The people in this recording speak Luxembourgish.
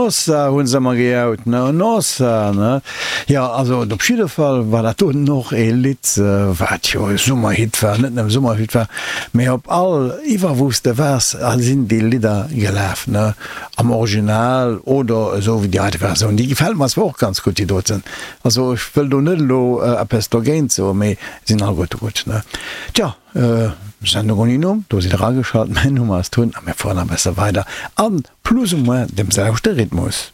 Nossa, hunn se ëmmer gejaut, ne? Nossa, ne? Jo, also op jidde Fall war dat doten och ee Lidd, wat jo e Summerhit war, net nëmme Summerhit war, mee op all, iwwer wou s de waars, sinn déi Lidder gelaf, ne? Am Original oder esou wéi déi heite Versioun. Déi gefält mer zwar och ganz gutt, déi doten. Also ech wëll do net elo eppes dogéint soen, mee sinn alleguerte gutt, ne? Tja. Sendung ouni Numm, do sidd der ageschalt, mäin Numm ass Tun a mir fueren nach e besse weider an plus ou moins dem selwechte Rhythmus.